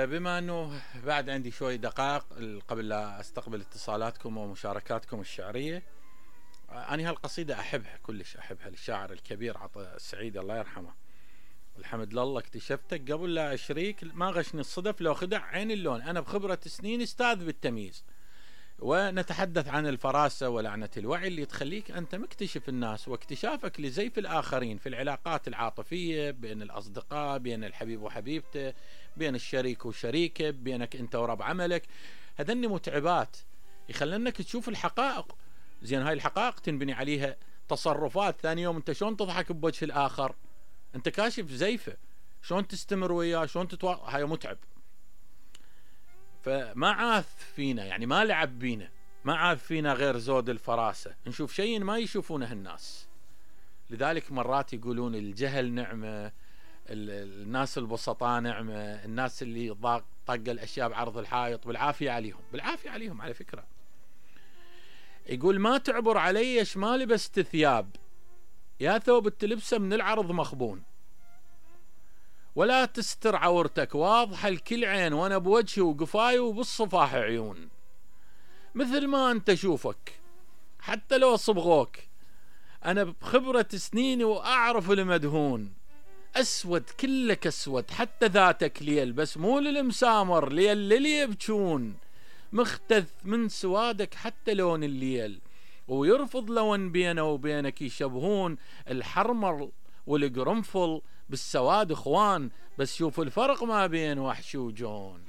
بما انه بعد عندي شوي دقائق قبل لا استقبل اتصالاتكم ومشاركاتكم الشعرية، أنا هالقصيدة أحبها كلش، أحبها للشاعر الكبير عطا السعيد الله يرحمه. الحمد لله اكتشفتك قبل لا أشريك، ما غشني الصدف لو خدع عين اللون، أنا بخبرة سنين استاذ بالتمييز. ونتحدث عن الفراسة ولعنة الوعي اللي تخليك أنت مكتشف الناس، واكتشافك لزيف الآخرين في العلاقات العاطفية بين الأصدقاء، بين الحبيب وحبيبته، بين الشريك وشريكه، بينك أنت ورب عملك. هذني متعبات يخلنك تشوف الحقائق. زين هاي الحقائق تنبني عليها تصرفات. ثاني يوم أنت شلون تضحك بوجه الآخر؟ أنت كاشف زيفه، شلون تستمر وياه، شلون هاي متعب. فما عاث فينا، يعني ما لعب بينا، ما عاث فينا غير زود الفراسة، نشوف شيء ما يشوفونه الناس. لذلك مرات يقولون الجهل نعمة، الناس البسطاء نعمة، الناس اللي طق الأشياء بعرض الحائط بالعافية عليهم، بالعافية عليهم على فكرة. يقول ما تعبر علي ما لبست ثياب، يا ثوب تلبسه من العرض مخبون، ولا تستر عورتك واضحة الكل عين، وانا بوجهي وقفاي وبالصفاح عيون. مثل ما انت شوفك حتى لو صبغوك، انا بخبرة سنيني واعرف المدهون. اسود كلك اسود حتى ذاتك ليل، بس مو للمسامر ليل للي يبجون. مختث من سوادك حتى لون الليل، ويرفض لون بينه وبينك يشبهون. الحرمر والقرنفل بالسواد اخوان، بس شوف الفرق ما بين وحش وجون.